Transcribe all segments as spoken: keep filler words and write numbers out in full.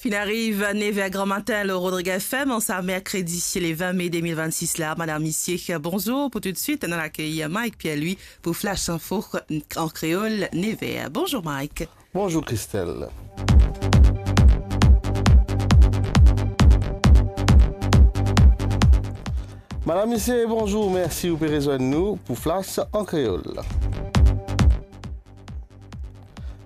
Inn ariv nev er gran matin lor Rodrig F M, an sa merkredi le vin me de mil vennsis la. Madam, misie, bonzour. Pou toutswit, nou al akeyir Mike Pierre-Louis pou Flash Info an kreol, nev er. Bonzour, Mike. Bonzour, Christelle. Madam, misie, bonzour. Mersi ou pe rezwenn nou pou Flash an kreol.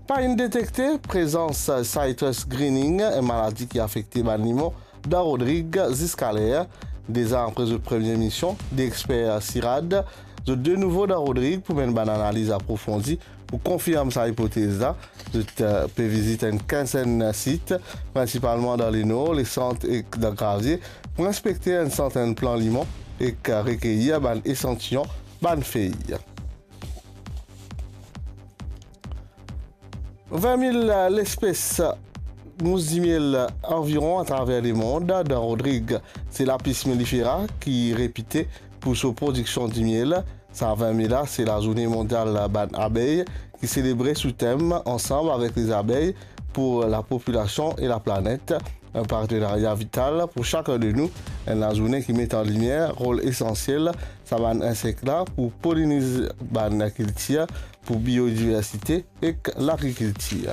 Pa inn detekte prezans citrus greening, enn maladi ki afekte bann limon dan Rodrig ziska ler. Deza apre zot premie mision, de exper CIRAD, zot de nouvo dan Rodrig pou menn bann analiz aprofondi pou konfirm sa ipotez la. Zot, eh, pe vizit enn kinzenn sit, prinsipalman dan Lenor, Lesant ek dan Gravie, pou inspekte enn santenn plan limon ek rekeyir bann esantiyon bann fey. Vin mil lespes mous dimiel anviron atraver lemond. Dan Rodrig, se Lapis mellifera ki repite pou so prodiksion dimiel. Sa vin me la, se lazourne mondial bann abey ki selebre sou tem Ansanm avek lezabey pou lapopilasion e laplanet. Enn partenaria vital pou sakenn de nou, enn lazourne ki met an limier rol esansiel sa bann insek la pou poliniz bann kiltir, pou biodiversite ek lagrikiltir.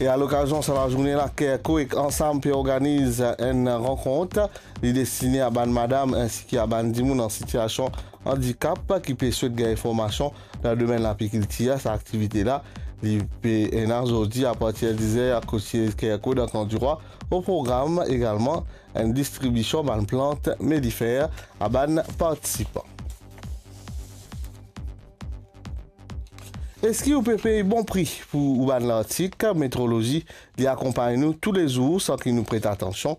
E alokazion sa lazourne la, Kerko ek Ansanm pe organiz enn rankont. Li destine a bann madam insi ki a bann dimoun an sitiasion andikap ki pe swet gagn formasion dan domenn lapikiltir. Sa aktivite la, li pe ena zordi apartir diz er kot siez Kerko dan Kan Dirwa. O program egalman enn distribision bann plant melifera a bann partisipan. Eski ou pe pey bon pri pou ou bann lartik? Metrolozi, li akonpagn nou toulezour san ki nou pret atansion.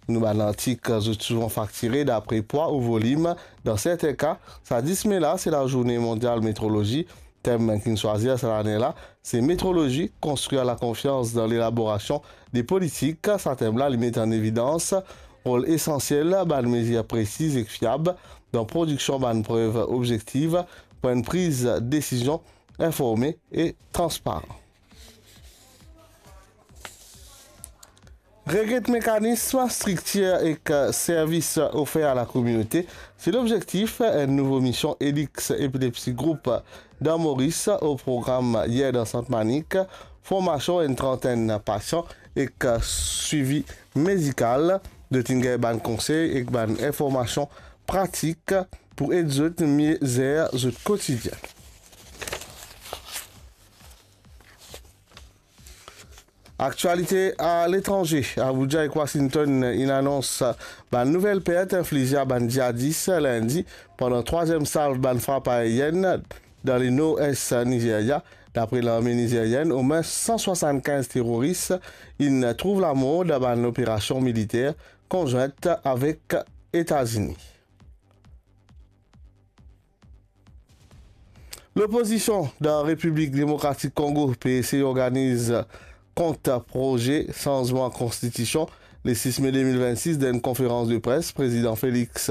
Nou bann lartik, zot souvan faktire dapre pwa ou volim. Dan serten ka, sa dis me la, se lazourne mondial metrolozi. Tem ki'nn swazir sa lane la, se metrolozi, konstrir lakonfians dan lelaborasion de politik. Sa tem la, li met an evidans rol esansiel bann mezir presiz ek fiab dan prodiksion bann prev obzektif, pou enn priz desizion informe e transparan. Regret mekanism, striktir ek servis ofer a lakominote, se lobzektif enn nouvo mision Elix Epilepsy Group dan Moris. O program yer dan Sant Manik, formasion enn trantenn pasian ek swivi medikal. Zot inn gagn bann konsey ek bann informasion pratik pou ed zot mie zer zot kotidien. Aktialite aletranze, Abuja ek Washington inn anons bann nouvel pert inflize a bann jihadis lindi pandan trwaziem salv bann frap aerienn dan lenor-es Nizeria. Dapre larme nizerienn, omwin san swasann-kinz teroris inn trouv lamor dan bann operasion militer konzwint avek Etazini. Lopozision dan Repiblik Demokratik Kongo pe esey organiz kont proze sanzman konstitision. Le sis me de mil vennsis, dan enn konferans de pres, Prezidan Felix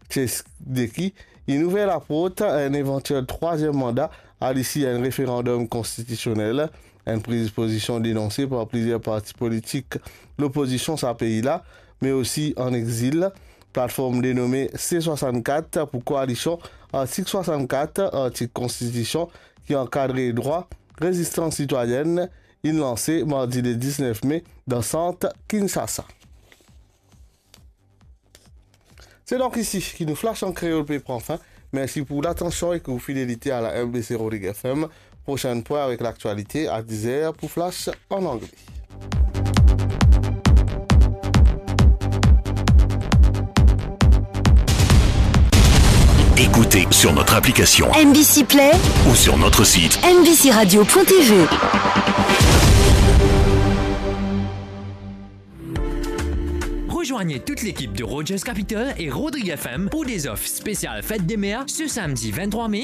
Tshisekedi inn ouver laport a enn evantiel trwaziem manda a lisi enn referandom konstitisionel, enn priz pozision denonse par plizier parti politik lopozision sa pei la, me osi an exil. Platform denome C swasann-kat pou koalision, artik swasann-kat, artik konstitision ki ankadre drwa, rezistans sitwayenn, inn lanse mardi le diznef me dan sant Kinshasa. Se donk isi ki nou Flash an Kreol pe pran fin. Mersi pou latansion ek ou fidelite a la M B C Rodrig F M. Prosenn pwin avek laktialite a diz er pou Flash an angle. Écoutez sur notre application M B C Play ou sur notre site M B C radio point T V. Rejoignez toute l'équipe de Rogers Capital et Rodrig F M pour des offres spéciales fête des mères ce samedi vingt-trois mai